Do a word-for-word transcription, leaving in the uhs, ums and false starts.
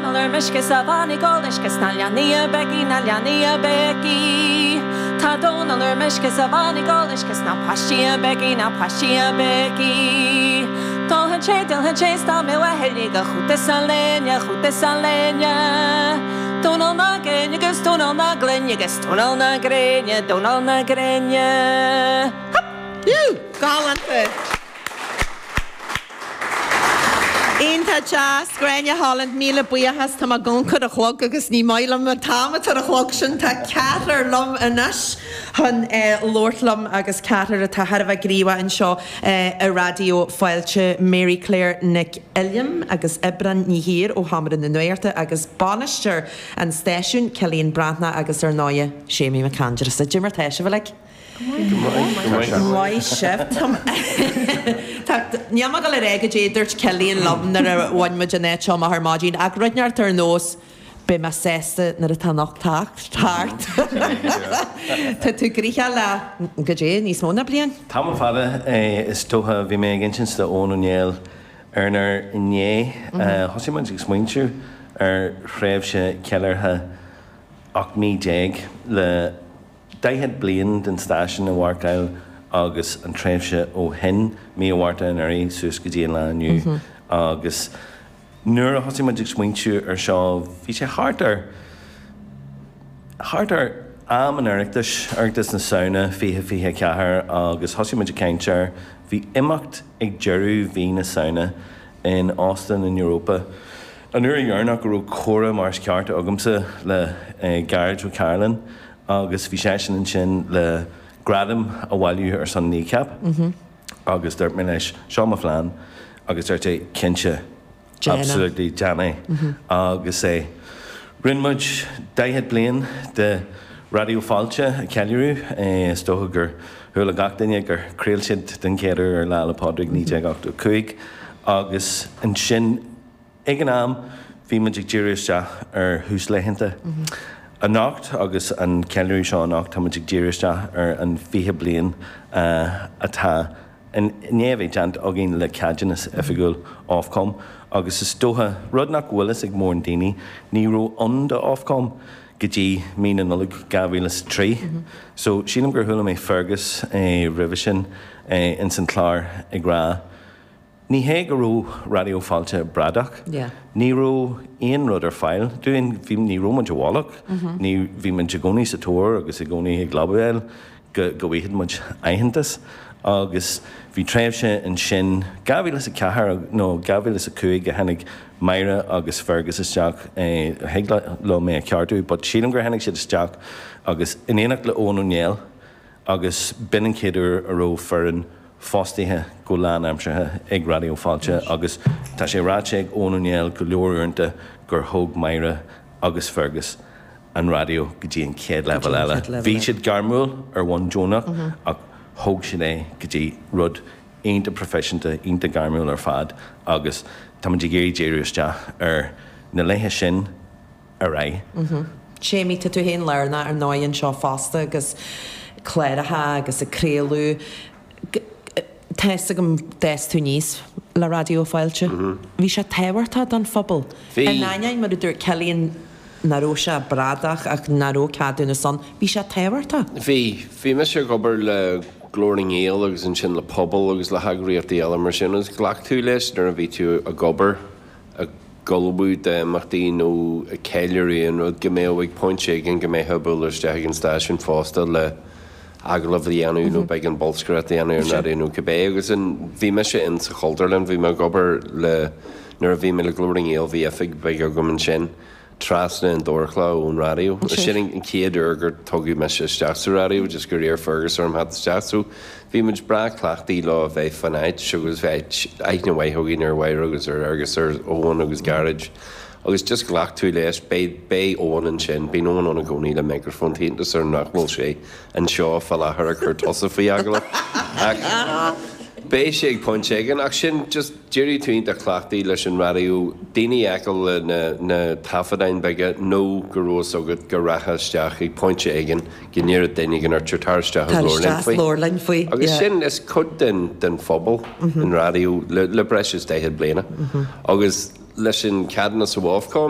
Dónal ar meisce 's a bhean ag ól uisce 's na leanaí ag béicigh na leanaí ag béicigh. Tá Dónal ar meisce 's a bhean ag ól uisce 's na páistí ag béicigh na páistí ag béicigh. D'ólfainn sé d'ólfainn sé 's dá mbeadh a thuilleadh de chóta 's a léine chóta 's a léine. Dónal na Géine agus Dónal na Gloine agus Dónal na Gréine Dónal na Gréine. Galánta. Iontach deas, Gráinne Holland, míle buíochas, tá mé ag amharc ar an chlog agus ní maith liom an t-am atá ar an chlog sin, tá ceathrar liom anois chun labhairt liom agus ceathrar atá thar a bheith gníomhach anseo i Raidió Fáilte, Mary Claire Nic Uilliam agus Oibrán Ní hÍr ó Sheomra na Nuachta agus bainisteoir an stáisiúin, Cillian Breathnach agus ar ndóighe, Séimí Mac Aindreasa. Cad é mar tá sibh uilig? Maith sibh. Níl mé ag dul a rá goidé a dúirt Cillian liom nuair a bhain muid an áit seo amach ar maidin ach rud inteacht ar nós beidh mé sásta nuair atá an ocht thart. Tá tú gnoitheach le goidé níos mó ná bliain? Tamall fada is dócha. Bhí mé ag insint do Eoin Ó Néill ar an aer inné. Thosaigh muid ag smaointiú ar thréimhse ceiliúrtha ocht mí déag le daichead bliain den stáisiún a mharcáil agus an tréimhse ó shin, mí an Mhárta anuraidh suas go dtí an lá inniu. Agus nuair a thosaigh muid ag smaointiú ar seo, bhí sé thart ar, thart ar am an Oireachtais, Oireachtas na Samhna fiche fiche a ceathair agus thosaigh muid ag caint air. Bhí imeacht ag deireadh mhí na Samhna in Óstán an Europa. An uair dheireanach go raibh comhrá mar is ceart agamsa le Gearóid Ó Cairealláin agus bhí seisean ansin le gradam a bhailiú ar son Kneecap agus dúirt mé leis, seo mo phlean agus dúirt sé, cinnte, absolutely, déan é. Agus é, rinne muid daichead bliain de Raidió Fáilte a cheiliúradh, is dócha gur chuala gach duine gur chraol siad den chéad uair ar Lá 'le Pádraig naoi déag ochtó a cúig agus ansin, Ag an am, bhí muid ag díriú isteach ar thúslaethanta. Anocht, agus an ceiliúradh seo anocht, tá muid ag díriú isteach ar an fiche bliain atá i ndiaidh a bheith déanta againn le ceadúnas oifigiúil Ofcom. Agus is dócha, rud nach bhfuil fhios ag mórán daoine, ní raibh ann do Ofcom go dtí mí na Nollag dhá mhíle is a trí. So, sílim gur chuala mé Fergus roimhe sin ins an chlár ag rá, Ní hé go raibh Raidió Fáilte bradach. Ní raibh aon rud ar fáil dúinn. Bhí, ní raibh muid i bhfolach. Ní, bhí muid i gcónaí sa tóir agus i gcónaí ag lobbyáil go, go bhfaigheadh muid aitheantas. Agus bhí tréimhse ansin, dhá mhíle is a ceathair nó dhá mhíle is a cúig a tháinig Máire agus Fergus isteach, thig leo mé a cheartú, but sílim gur tháinig siad isteach agus in éineacht le Eoin Ó Néill agus b'in an chéad uair a raibh foireann fostaithe go lánaimseartha ag Raidió Fáilte agus tá sé ráite ag Eoin Ó Néill go leor uaireanta gur thóg Máire agus Fergus an raidió go dtí an chéad leibhéal eile. Bhí siad gairmiúil ar bhonn deonach ach thóg siad é go dtí rud iontach proifisiúnta, iontach gairmiúil ar fad agus táimid ag iarraidh díriú isteach ar na laetha sin ar aghaidh. Séimí, tá tú féin lárnach ar ndóigh anseo fosta agus cláracha agus ag craoladh. Tá fhios agam d'fhás tú aníos le Raidió Fáilte. Bhí sé tábhachtach don phobal. Bhí. In ainneoin, mar a dúirt Cillian, nach raibh sé bradach ach nach raibh ceadúnas ann, bhí sé tábhachtach. Bhí. Bhí mise ag obair le Glór na nGael agus ansin le Pobal agus le heagraíochtaí eile mar sin agus ghlac tú leis nuair a bhí tú ag obair ag ullmhú d'imeachtaí nó ag ceiliúradh aon rud, go mbeadh ag pointe éigin go mbeifeá ag bualadh isteach ag an stáisiún fosta le agallamh a dhéanamh nó beagán bolscaireacht a dhéanamh ar an raidió nó cibé. Agus an, bhí mise in sa Chultúrlann, bhí mé ag obair le, nuair a bhí mé le Glór na nGael bhí oifig bheag agam ansin trasna an dorchla ón raidió. Sin an chéad uair gur tugadh mise isteach sa raidió, just gur iarr Fergus orm theacht isteach. So bhí muid breá cleachtaithe leo a bheith fan áit agus bhí aithne mhaith againn ar Mháire agus ar Fhergus ar Eoin agus Gearóid agus just ghlac tú leis, beidh, beidh Eoin ansin, bíonn Eoin ann i gcónaí le micreafón, tá iontas orm nach bhfuil sé anseo fá láthair ag cur tusa faoi agallamh ach beidh sé ag pointe éigin ach sin just d'éirigh tú iontach cleachtaithe leis an raidió, daoine a fheiceáil le na, na taifeadáin beaga nó go raibh fhios agat go rachfá isteach ag pointe éigin go ndéarfadh duine éigin ort tar isteach Tar is labhair linn isteach faoi. labhair linn faoi, Agus yeah. sin, is cuid den, den phobal an raidió le, le breis is daichead bliana agus leis an ceadúnas ó Ofcom,